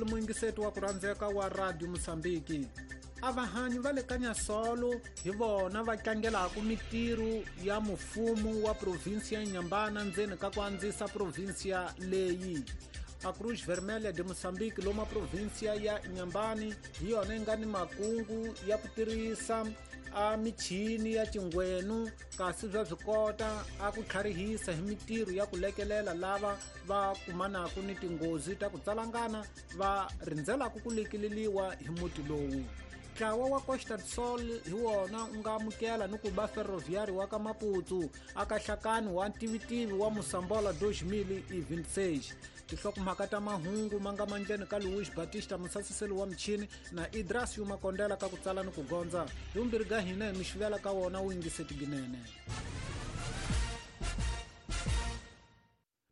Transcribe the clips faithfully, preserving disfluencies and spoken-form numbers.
Muyingiseti wa ku rhandzeka wa Radio Mozambique. A vahanyi va le ka Nyasolo hi vona va tlangelaka mitirho ya mufumo wa provinsi ya Inhambane ndzeni ka ku andzisa provinsiya leyi. A Cruz Vermelha de Moçambique loma provinsiya ya Inhambane hi yona yi nga ni makungu ya ku tirhisa a michini ya cingwenu kasi bya swi kota a ku tlharihisa hi mitirho ya ku lekelela lava va kumanaka ni tinghozi ta ku tsalangana va rindzelaka ku lekeleliwa hi muti lowu. Ntlawa wa Costa do Sol hi wona u nga amukela ni ku ba Ferroviário wa ka Maputo aka nhlakani wa ntivitivi wa Moçambola dois mil e vinte e seis. Tinhlokomhaka ta mahungu ma nga mandleni ka Luis Batista musasiseli wa michini na Idrasio Makondela ka ku tsala ni ku gondza. Hi vumbirhi ka hina hi mi xivela ka wona wu yingiseti ginene.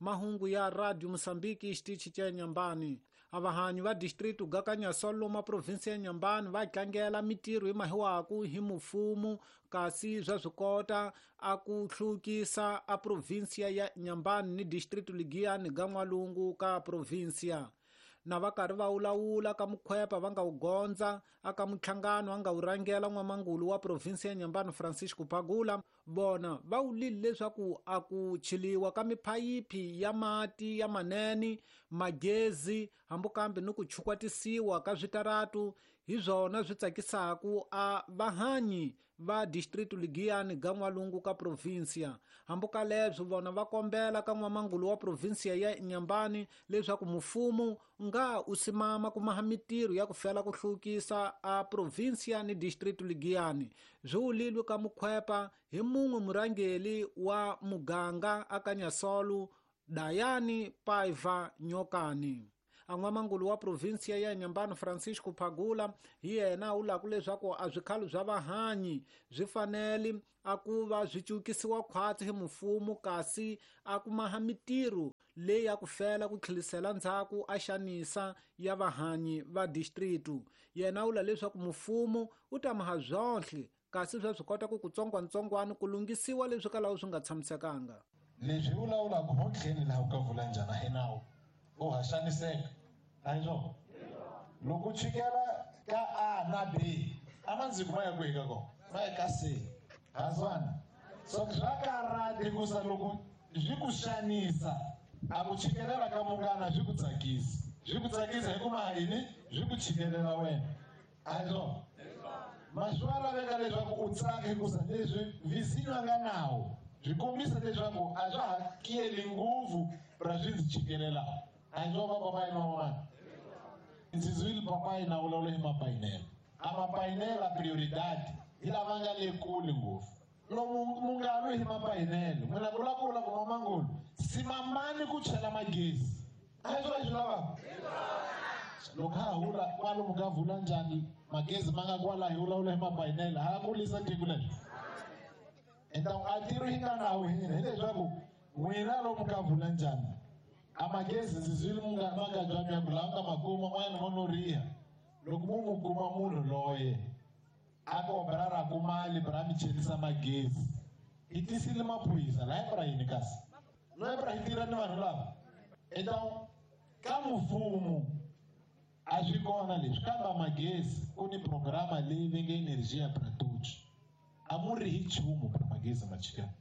Mahungu ya Radio Mozambique xitichi xa Inhambane. A vahanyi va distrito ga ka Nyasolo loma provinsi ya Inhambane va tlangela mitirho hi mahiwaku hi mufumo kasi bya swi kota a ku hlukisa a provinsiya ya Inhambane ni distrito Ligiyani ga N'walungu ka provinsiya. Na va karhi va wulawula ka mukhwepa va nga wu gondza aka muhlangano a nga wu rhangela n'wamangulu wa provinsi ya Inhambane Francisco Pagula vona va wulile leswaku a ku chiliwa ka miphayiphi ya mati ya manene magezi hambi kambe ni ku chukwatisiwa ka switaratu hi swona swi tsakisaku a vahanyi va distrito Ligiyani ga N'walungu ka provinsiya. Hambi ka leswo vona va kombela ka n'wamangulu wa provinsiya ya Inhambane leswaku mufumo nga u simama ku maha mitirho ya ku fela ku hlukisa a provinsiya ni distrito Ligiyani. Swi wulilwe ka mukhwepa hi mun'we murhangeli wa muganga aka Nyasolo Dayani Paiva Nyokani. A n'wamangulu wa provinsiya ya Inhambane Francisco Pagula hi yena u lava leswaku a swikhalo swa vahanyi swi fanele a ku va swi cukisiwa khwatsi hi mufumo kasi a ku maha mitirho leyi ya ku fela ku tlhelisela ndzhaku a xanisa ya vahanyi va distrito. Yena u lava leswaku mufumo u ta maha byonhle kasi swa swi kota ku kutsongwatsongwana ku lunghisiwa leswi kalaho swi nga tshamisekanga. Leswi vulavulaka hotlheni laha u ka vula njhani hi nawu u ha xaniseka a hi swona? Loko u chikela ka A na B a mandziko ma ya kwihi ka kona? Ma ya ka C. Hazwana so swa karhata hikusa loko swi ku xanisa a ku chikelela ka munghana swi ku tsakisa, swi ku tsakisa hikuva yini? Swi ku chikelela wena a hi swona? Ma swi wa laveka leswaku u tsaka hikusa leswi vizinyo a nga nawo swi kombisa leswaku a swa ha kiyeli ngopfu ra swi ndzi chikelelaka. A hi swona papayi na van'wana? Ndzi zwile papayi na vulavula hi mapayinela. A mapayinela prioridade hi lava nga le kule ngopfu. Lomu munghana hi mapayinelo n'wina ku lava ku vula ku n'wamangulu simamani ku chela magezi. A hi swona swi lavaka? Loko ha hula kwalomu ka vula njhani magezi ma nga kwala hi vulavula hi mapayinela ha kulisa tiko leri. Então a tiro hi nga nawu hina hileswaku n'wina lomu ka vula njhani a magezi ndzi zwile munghana makajwami ya ku laha nga makuma n'wana mo no riha loko mu mu kuma munhu loye a kombela ra ku mali bra mi chelisa magezi hi tisile maphorisa laha bra yini kasi loyi bra hi tirha ni vanhu lava. Então ka mfumo a swi kona leswi kambe magezi ku ni programa leyi va nge Energia pra Todos a mu ri hi nchumu bra magezi ma chikela.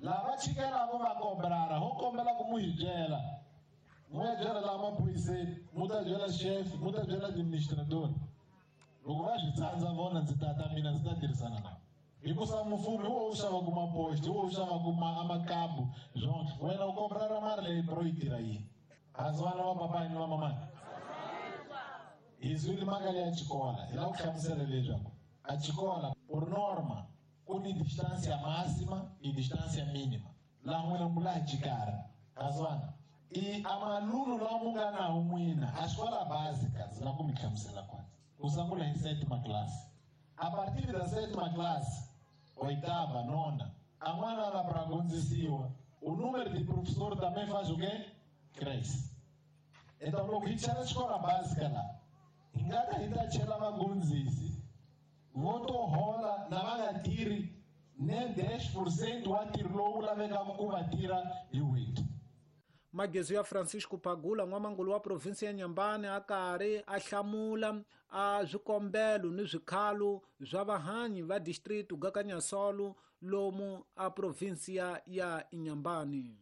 Lava chikelaka va kombela ho kombela ku mu hi byela mu ya byela laha maphoriseni mu ta byela chef mu ta byela administrator loko va swi tsandza vona ndzi ta ta mina ndzi ta tirhisana navo hikusa mfumo hi wo wu xavaku mapoxi hi wo wu xavaku amakabu swonke wena u kombela ra mali leyi bro yi tirha yini hansi vana va papayi ni va mamani hi zwile mhaka leya xikola hi lava ku hlamusela leswaku a xikola por norma ku ni distância máxima e distância mínima laha n'wina mu laha xikarhi hansi e a maluno lawa mu nga nawo n'wina a xikola básica ndzi lava ku mi hlamusela kwanza ku sungula hi sétima classe a partir da sétima classe oitava nona a n'wana la pra gonzisiwa o número de professor também faz o quê? Cresce. Então loko hi chela xikola básica laha hi nga ta hi ta chela vagondzisi vo to hola na va nga tirhi ne dez por cento wa ntirho lowu lavekaka ku va tirha hi n'hweti. Magezu ya Francisco Pagula n'wamangulu wa provinsi ya Inhambane a karhi a hlamula a swikombelo ni swikhalo swa vahanyi va district ga Kanyasolo lomu a provinsia ya Inhambane.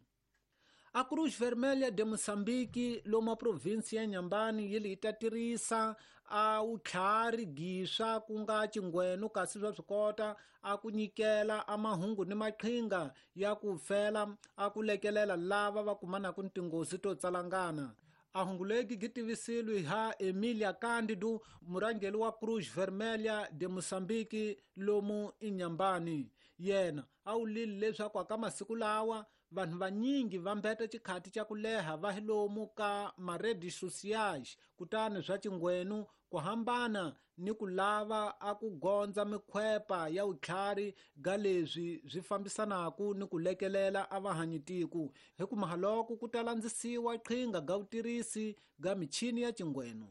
A Cruz Vermelha de Moçambique lomu a provinsia ya Inhambane yi li ta tirhisa a utlhari giswa ku nga chingweno kasi swa swikota a ku nyikela a mahungu ni maqhinga ya ku fela a ku lekelela lava va kumanaka ni tinghozi to tsalangana. A hungu legi gi tivisilwe ha Emilia Cândido, murhangeri wa Cruz Vermelha de Moçambique lomu Inhambane. Yena a wulile leswaku ka masiku lawa vanhu vanyingi va mbeta xikhati xa ku leha va hi lomu ka ma-redes sociais, kutani swa xingwenu ku hambana ni ku lava a ku gondza mikhwepa ya vutlhari ga leswi swi fambisanaka ni ku lekelela a vahanyitiku hi ku mahaloko ku ta landzisiwa qhinga ga vutirhisi ga michini ya xingwenu.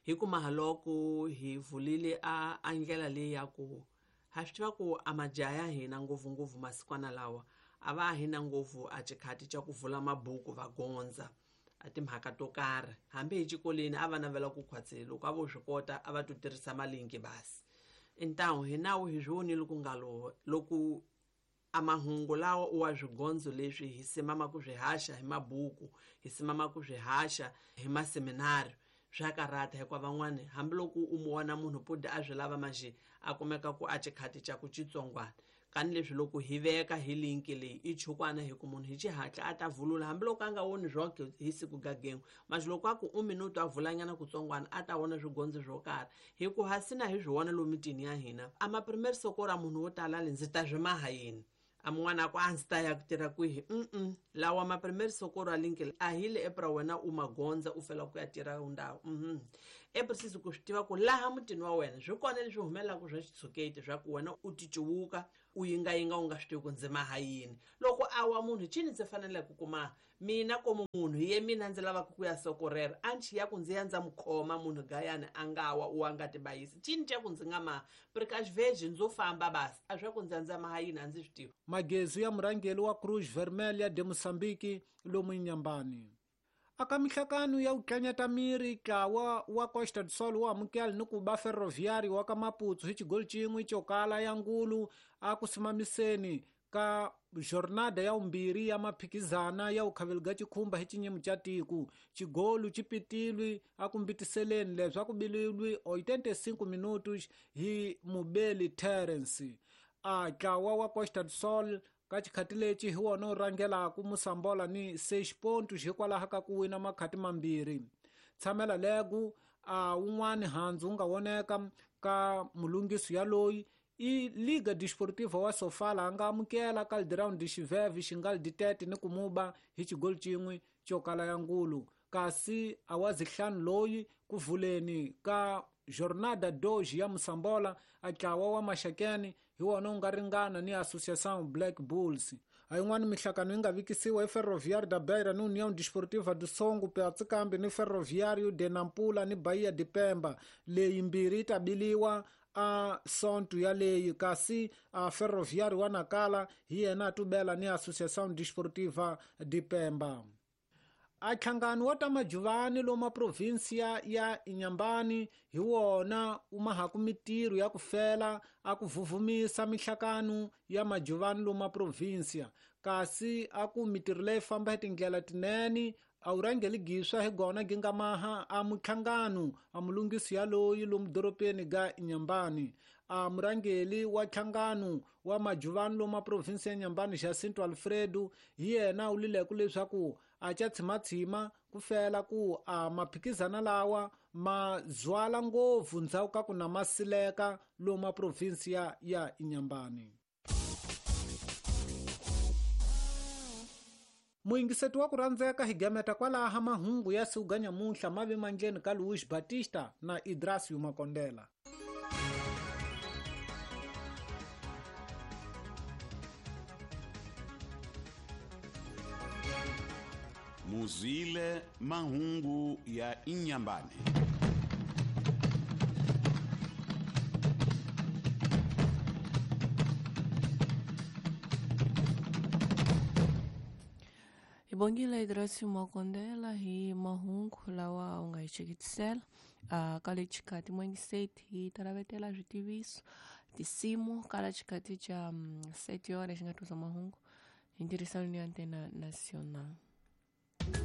Hi ku mahaloko hi vulile a a ndlela leyi ya ku ha swi tiva ku a majaha ya hina ngopfungopfu masikwana lawa a va hina ngopfu a xikhati xa ku vula mabuku va gondza a timhaka to karhi hambi hi xikolweni a va navela ku khwatsela loko a vo swi kota a va to tirhisa malinki basi intawu hi nawu hi swi vonile ku nga lo loko a mahungu lawa u wa swigondzo leswi hi simama ku swi haxa hi mabuku hi simama ku swi haxa hi maseminari swa karata hikuva van'wani hambiloko u mu vona munhu pudi a swi lava manjhe a kumeka ku a xikhati xa ku xitsongwana kani leswi loko hi veka hi linki leyi i chukwana hi ku munhu hi xihatla a ta vulula hambiloko a nga voni swonke hi siku gagengo manje loko a ku u minuto a vulanyana kutsongwana a ta vona swigondzo swo karhi hi ku hasina hi swi vona lomu mitini ya hina a ma-primary sokora munhu wo tala le ndzi ta swi maha yini a mun'wana a ku a ndzi ta ya ku tirha kwihi mm lawa ma-primary sokora linki a hi le epra wena u magondza u fela ku ya tirha ndhawu mhm eprisisi ku swi tiva ku laha mutini wa wena swi kona leswi humelelaka swa xitshuketi swa ku wena u ticuwuka u yingayinga u nga swi tivi ku ndzi maha yini loko a wa munhu cini ndzi faneleke ku kuma mina komu munhu hi ye mina ndzi lavaka ku ya sokorera a nchi ya ku ndzi ya ndza mu khoma munhu gayani a nga wa u a nga tibayisi cini xa ku ndzi nga maha precaution ndzo famba basi a swa ku ndzi ya ndza maha yini a ndzi swi tivi. Magezu ya murhangeri wa Cruz Vermelha de Moçambique lomu Inhambane. Aka mihlakano ya utlanyata miri ntlawa wa Costa do Sol wa amukela ni ku ba Ferroviário wa ka Maputo hi xigoli xin'we xo kala ya ngulu a ku simamiseni ka jornada ya umbirhi ya maphikizana ya ukhaveliga xikhumba hi xinyimo xa tiko. Xigolu xi pitilwe a ku mbitiseleni leswaku bililwe oitenta e cinco minutos hi Mubeli Terence. A ntlawa wa Costa do Sol ka xikhati lexi hi wona wu rhangelaka Mosambola ni seis pontos hikwalaho ka ku wina makhati mambirhi. Tshamela legu a wun'wani handzu wu nga voneka ka mulungisi yaloyi i Liga Desportiva wa Sofala a nga amukela Caldeirão de Xiveve xingali ditete ni ku muba hi xigoli xin'we xo kala ya ngulu. Kasi a wa zihlanu loyi ku vuleni ka Jornada dois ya Mosambola a ntlawa wa Maxakeni hi wona wu nga ringana ni Associação Black Bulls. A yin'wana mihlakano yi nga vikisiwa hi Ferroviário da Beira ni União Desportiva do Songo Piatzikambi ni Ferroviário de Nampula ni Bahia de Pemba. Leyi mbirhi yi ta biliwa a sonto yaleyi kasi a Ferroviário wa Nacala hi yena a tubela ni Associação Desportiva de Pemba. A nhlangano wa ta majuvani lomu provinsia ya Inhambane hi wona u mahaku mitirho ya ku fela a ku vuvumisa mihlakano ya majuvani lomu provinsia kasi a ku mitirho leyi famba hi tindlela tinene a wu rhangeli giswa hi gona gi nga maha a muhlangano a mulungisi yaloyi lomu doropeni ga Inhambane. A murhangeri wa nhlangano wa majuvani lomu provinsi ya Inhambane Jacinto Alfredo hi yena u lileku leswaku a xa tshimatshima ku fela ku a maphikizana lawa ma zwala ngopfu ndzhaku ka ku na masileka lomu provinsi ya ya Inhambane. Muyingiseti wa ku rhandzeka hi gameta kwalaha mahungu ya siku ga nyamuntlha ma ve mandleni ka Luis Batista na Idrasio Makondela. Muzile mahungu ya Inhambane. Bongile Idrasi Makondela hi mahungu lawa u nga hi cheketisela uh, ka le xikati mwengiseti hi talavetela switiviso tinsimu kala xikati xa um, seti yona xi nga tusa mahungu hi ntirhisano ni Antena Nacional.